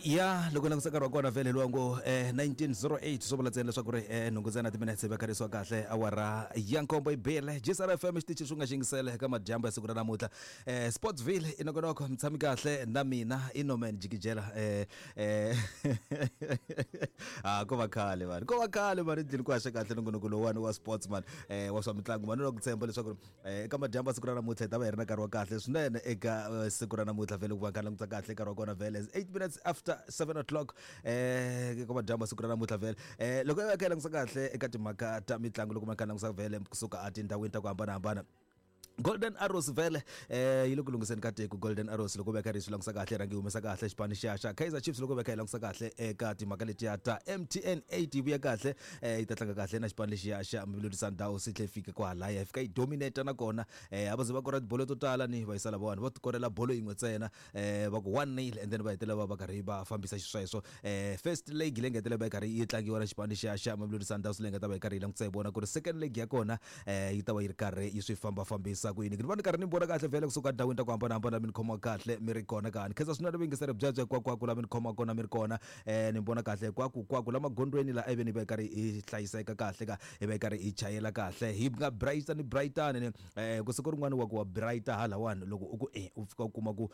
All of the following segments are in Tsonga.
Ya loko langutisa nkarhi wa kona vhele luwa ngo 1908, swo vula ntsena leswaku ri nhungu ntsena timinetse va kharisiwa kahle awara ya nkombo yi bile. GCR FM, xitichi xi nga xingisele eka madyambu ya siku ra namuntlha, Sportsville i nongonoko. Mi tshami kahle na mina i Norman Jikijela. Ko va khale vanhu, ko va khale mani ndlini ku haxa kahle nongonoko lowuwani wa sports man, wa swa mitlangu mani. Na ku tshemba leswaku eka madyambu ya siku ra namuntlha hi ta va hi ri na nkarhi wa kahle swinene eka siku ra namuntlha. Vhele ku va kha langutisa kahle nkarhi wa kona vhele 8 minutes after 7 o'clock eka madyambu ya siku ra namuntlha. Vhele loko hi va kha hi langutisa kahle eka timhaka ta mitlangu, loko ma kha langutisa vhele kusuka etindhawini ta ku hambanahambana, Golden Arrows vhele yi le ku lunghiseni ka tiko. Golden Arrows loko veka ri swi langutisa kahle, rhangi yi humesa kahle xipano xa Kaizer Chiefs. Loko veka hi langutisa kahle eka timhaka letiya ta MTN 8, yi vuya kahle, yi ta tlanga kahle na xipano lexiya xa Mamelodi Sundowns. Yi tlhe yi fika kwahalaya, yi fika yi dominate nakona. A va ze va kora tibolo to tala ni va yisa lavawani, va tikorela bolo yin'we ntsena, va ku 1-0, and then va hetelela va va karhi va fambisa xisweswo. First leg leyi nga hetelela va yi karhi yi tlangiwa na xipano lexiya xa Mamelodi Sundowns, leyi nga ta va yi karhi yi langutisa hi vona ku ri second leg ya kona yi ta va yi ri karhi yi swi fambafambisa ku yini. Ni va ni karhi ni vona kahle vhele kusuka ndhawini ta ku hambanahambana, mi ni khoma kahle mi ri kona ka ni khensa swinene vuyingiseri byebyo hinkwakwako la mi ni khoma kona mi ri kona. Ni vona kahle hinkwakunkwaku la magondzweni la ivi ni va yi karhi hi hlayiseka kahle ka hi va yi karhi hi chayela kahle, hi nga brighter ni brightani ni ku siku rin'wana wa ku wa brighter halawani, loko u ku e u fika u kuma ku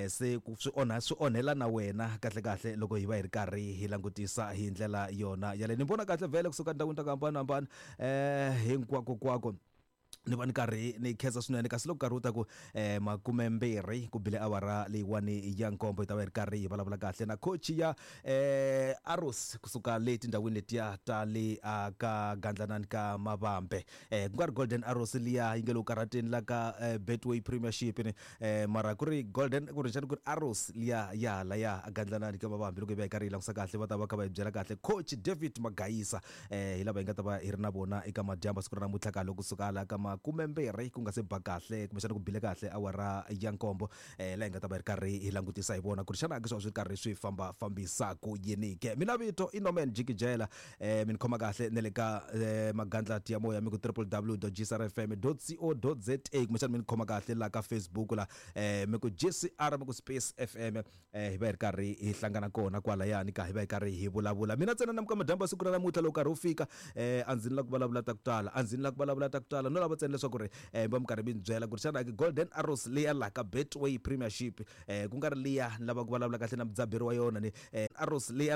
se ku swi onha, swi onhela na wena kahle kahle. Loko hi va hi ri karhi hi langutisa hi ndlela yona yaleyo, ni vona kahle vhele kusuka ndhawini ta ku hambanahambana, hinkwako kwako ni va ni karhi ni khensa swinene. Kasi loko nkarhi wu ta ku 20 ku bile awara leyiwani ya nkombo, hi ta va hi ri karhi hi vulavula kahle na coach ya Arrows kusuka le tindhawini letiya ta le a ka Gandlanani ka Mavambe, ku nga ri Golden Arrows liya yi nge le ku karhateni la ka Betway Premiership ni, mara ku ri Golden, ku ri xana ku ri Arrows liya ya hala a Gandlanani ka Mavambe. Loko hi va hi karhi hi langutisa kahle, va ta va kha va hi byela kahle coach David Magayisa, hi lava hi nga ta va hi ri na vona eka madyambu siku ra namuntlha ka loko kusuka hala ka 20 ku nga se ba kahle, kumbexana ku bile kahle awara ya nkombo, laha hi nga ta va hi ri karhi hi langutisa hi vona ku ri xana ke swi va swi ri karhi swi famba fambisa ku yini ke. Mina vito i Norman Jikijela. Mi ni khoma kahle na le ka magandlati ya moya, mi ku www.gcrfm.co.za, kumbexana mi ni khoma kahle la ka Facebook la, mi ku GCR, mi ku space FM, hi va hi ri karhi hi hlangana kona kwalayani ka hi va hi karhi hi vulavula. Mina ntsena namuka madyambu ya siku ra namuntlha, loko nkarhi wu fika, a ndzi ni la ku vulavula ta ku tala, a ndzi ni la ku vulavula ta ku tala, no lava ntsena leswaku ri mi va mi karhi mi ni byela ku ri xana ke Golden Arrows leya laha ka Betway Premiership, ku nga ri liya ni lava ku vulavula kahle na mudzaberi wa yona ni Arrows leya.